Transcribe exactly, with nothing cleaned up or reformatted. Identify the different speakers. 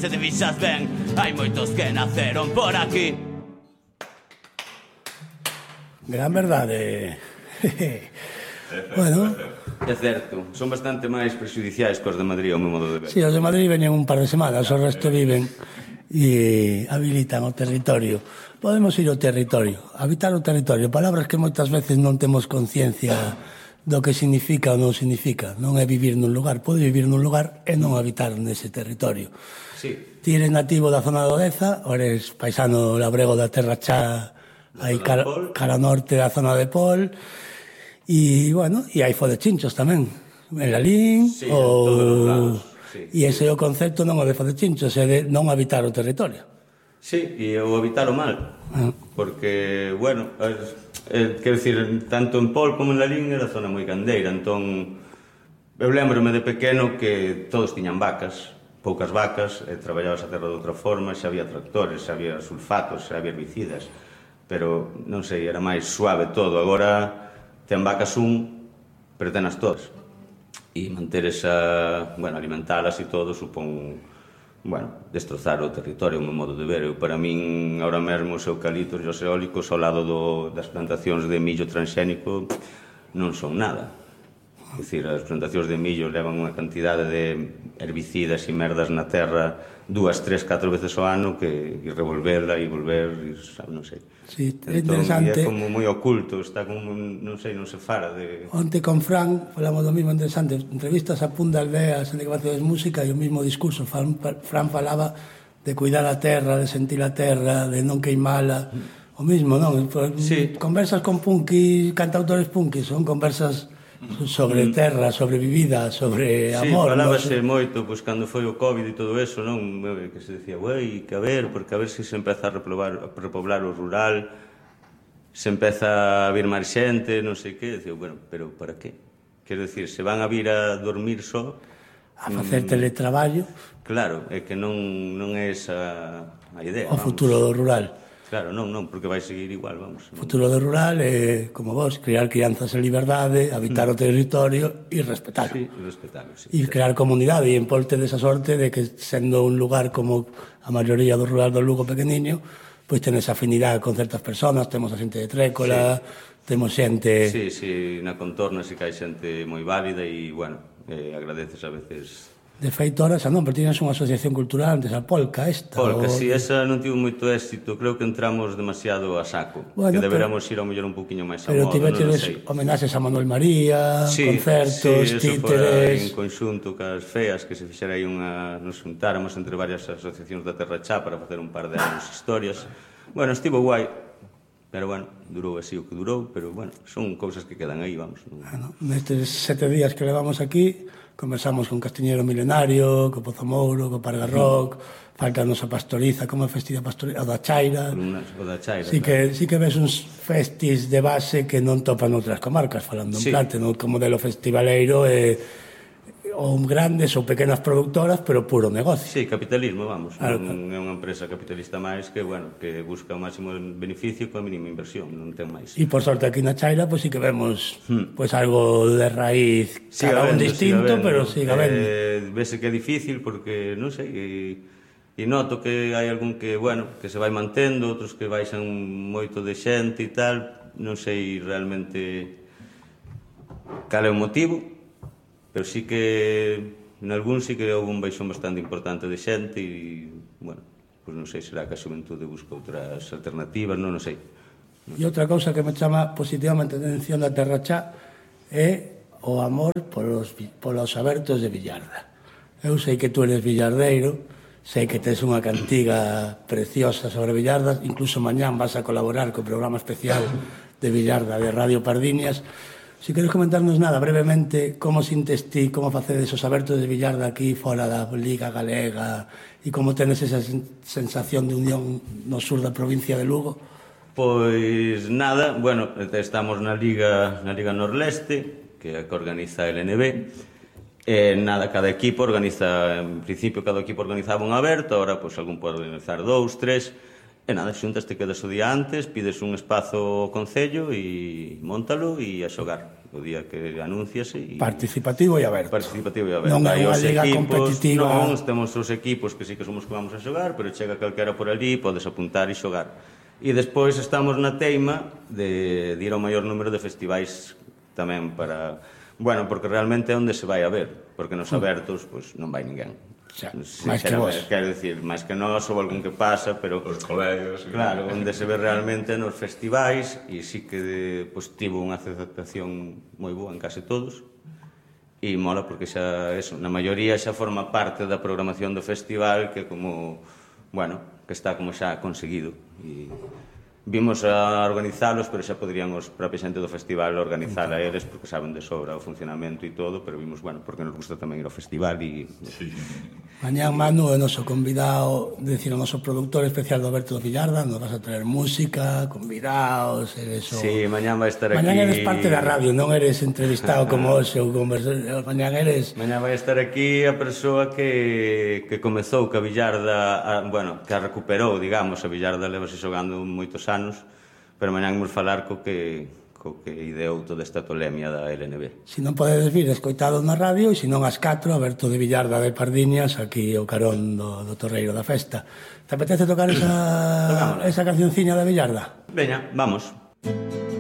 Speaker 1: se te fixas ben, hai moitos que naceron por aquí.
Speaker 2: Gran verdade. Bueno,
Speaker 1: é certo, son bastante máis prexudiciais cos de Madrid ao meu modo de ver.
Speaker 2: Si, os de Madrid veñen un par de semanas, o resto viven e habilitan o territorio. Podemos ir ao territorio, habitar o territorio, palabras que moitas veces non temos conciencia do que significa ou non significa. Non é vivir nun lugar, pode vivir nun lugar e non habitar nese territorio.
Speaker 1: Sí.
Speaker 2: Ti eres nativo da zona do Deza, ou eres paisano labrego da Terra Chá, aí cara, cara norte da zona de Pol, e, bueno, e hai fodechinchos tamén, en Lalín,
Speaker 1: sí,
Speaker 2: ou...
Speaker 1: Sí,
Speaker 2: e ese é o concepto non o de fodechinchos, é de non habitar o territorio.
Speaker 1: Sí, e o habitalo mal, ah. porque, bueno, eh, quero dicir, tanto en Pol como en Lalín era zona moi gandeira, entón eu lembrome de pequeno que todos tiñan vacas, poucas vacas, e traballabas a terra de outra forma, xa había tractores, xa había sulfatos, xa había herbicidas, pero, non sei, era máis suave todo. Agora ten vacas un, pero tenas todas, e manter esa, bueno, alimentalas e todo supón... bueno, destrozar o territorio, o meu modo de ver. Eu, para min, ahora mesmo, os eucaliptos e os eólicos ao lado do, das plantacións de millo transxénico non son nada. É dicir, as plantacións de millo levan unha cantidade de herbicidas e merdas na terra dúas, tres, catro veces ao ano que e revolverla e volver, e, sabe, non sei.
Speaker 2: Sí, é
Speaker 1: entón,
Speaker 2: interesante.
Speaker 1: É como moi oculto, está como, non sei, non se fara de...
Speaker 2: Onte con Fran falamos do mismo interesante, entrevistas a Punda Aldeas en que facedes música e o mismo discurso. Fran, Fran falaba de cuidar a terra, de sentir a terra, de non queimala, o mismo, non?
Speaker 1: Sí.
Speaker 2: Conversas con punkis, cantautores punkis, son conversas sobre terra, sobre vivida, sobre amor.
Speaker 1: Sí, falábase no? moito, pois, cando foi o COVID e todo eso, non? Que se decía, güey, que a ver, porque a ver se se empeza a repoblar, a repoblar o rural, se empeza a vir máis xente, non sei que, decía, bueno, pero para qué? Quero dicir, se van a vir a dormir só...
Speaker 2: A facer teletraballo.
Speaker 1: Claro, é que non, non é esa a idea.
Speaker 2: O futuro do rural.
Speaker 1: Claro, non, non, porque vai seguir igual, vamos.
Speaker 2: O futuro do rural é, como vos, criar crianzas en liberdade, habitar mm. o territorio e respetarlo.
Speaker 1: Sí, respetarlo, sí.
Speaker 2: E crear comunidade, e en Pol tedes a sorte de que, sendo un lugar como a maioría do rural do Lugo pequeniño, pois tenes afinidade con certas personas, temos a xente de Trécola, sí. temos xente...
Speaker 1: Sí, sí, na contorna sí que hai xente moi válida e, bueno, eh, agradeces a veces...
Speaker 2: De feito, ahora xa non, pero tienes unha asociación cultural antes, a Polca, esta.
Speaker 1: Polca,
Speaker 2: o...
Speaker 1: si, esa non tivo moito éxito, creo que entramos demasiado a saco, bueno, que deberamos pero... ir ao mellor un poquinho máis a
Speaker 2: pero
Speaker 1: modo,
Speaker 2: non
Speaker 1: non
Speaker 2: sei. Homenaxes a Manuel María, sí, concertos,
Speaker 1: sí,
Speaker 2: títeres...
Speaker 1: en conxunto cas feas, que se fixera aí unha... nos juntáramos entre varias asociacións da Terra Chá para facer un par de anos historias. Bueno, estivo guai, pero, bueno, durou así o que durou, pero, bueno, son cousas que quedan aí, vamos.
Speaker 2: Bueno, nestes sete días que levamos aquí... Conversamos con Castiñeiro Milenario, co Pozo Mouro, co Parga Rock, mm. faltanos a Pastoriza, como é festival Pastoriza, o da Chaira.
Speaker 1: O da Chaira,
Speaker 2: sí,
Speaker 1: claro.
Speaker 2: que, sí que ves uns festis de base que non topan outras comarcas, falando
Speaker 1: sí.
Speaker 2: en plate, no? Como modelo festivaleiro, eh, ou grandes ou pequenas productoras, pero puro negocio.
Speaker 1: Sí, capitalismo, vamos.
Speaker 2: Claro,
Speaker 1: non é unha empresa capitalista máis que, bueno, que busca o máximo beneficio coa mínima inversión, non ten máis.
Speaker 2: E por sorte aquí na Chaira, pois pues, sí que vemos hmm. pues, algo de raíz,
Speaker 1: siga
Speaker 2: cada un
Speaker 1: vendo,
Speaker 2: distinto,
Speaker 1: siga
Speaker 2: pero siga vendo.
Speaker 1: Eh, vese que é difícil porque, non sei, e, e noto que hai algún que, bueno, que se vai mantendo, outros que baixan moito de xente e tal, non sei realmente cal é o motivo, pero sí que en algún sí que houve un baixón bastante importante de xente e, bueno, pois non sei, será que a xuventude busca outras alternativas, non, non sei.
Speaker 2: E outra cousa que me chama positivamente a atención da Terra Chá é o amor polos, polos abertos de Villarda. Eu sei que tú eres villardeiro, sei que tes unha cantiga preciosa sobre Villarda, incluso mañán vas a colaborar co programa especial de Villarda de Radio Pardiñas. Si queres comentarnos nada, brevemente, como sintes ti, como facedes os abertos de Villarda aquí fora da Liga Galega e como tenes esa sensación de unión no sur da provincia de Lugo?
Speaker 1: Pois nada, bueno, estamos na Liga na Liga Norleste, que é a que organiza el N B, e nada, cada equipo organiza, en principio cada equipo organizaba un aberto, ahora pois algún pode organizar dous, tres, e nada, xuntas te quedas o día antes, pides un espazo ao concello e móntalo e a xogar. o día que anúnciase.
Speaker 2: Participativo e aberto.
Speaker 1: Participativo e aberto.
Speaker 2: Non é unha liga competitiva.
Speaker 1: Non, temos os equipos que sí que somos que vamos a xogar, pero chega calquera por ali, podes apuntar e xogar. E despois estamos na teima de, de ir ao maior número de festivais tamén para... Bueno, porque realmente é onde se vai a ver, porque nos abertos, pois, non vai ninguén.
Speaker 2: Xa, máis que vos.
Speaker 1: Quero dicir, máis que nós ou algún que pasa, pero...
Speaker 3: Os colegas...
Speaker 1: Claro, onde se ve realmente nos festivais, e sí que pues, tivo unha aceptación moi boa en case todos, e mola porque xa, eso, na maioría xa forma parte da programación do festival, que como, bueno, que está como xa conseguido. E vimos a organizalos, pero xa poderían os propios xente do festival organizar a eles, porque saben de sobra o funcionamento e todo, pero vimos, bueno, porque nos gusta tamén ir ao festival e...
Speaker 3: Sí.
Speaker 2: Mañán Manu é o noso convidado, decir, o noso productor especial do Alberto do Villarda, nos vas a traer música, convidados, eres o...
Speaker 1: Sí, mañán vai estar aquí...
Speaker 2: Mañán eres parte da radio, non eres entrevistado como hoxe ou conversa... Mañán eres...
Speaker 1: Mañán vai estar aquí a persoa que, que comezou que a Villarda, a, bueno, que a recuperou, digamos, a Villarda levase xogando moitos anos, pero mañán imos falar co que, co que ideou toda esta tolemia da L N B.
Speaker 2: Si non podedes vir, escoitado na radio, e se non as catro, Alberto de Villarda de Pardiñas, aquí o carón do, do Torreiro da Festa. Te apetece tocar esa, esa cancionciña da Villarda?
Speaker 1: Veña, vamos.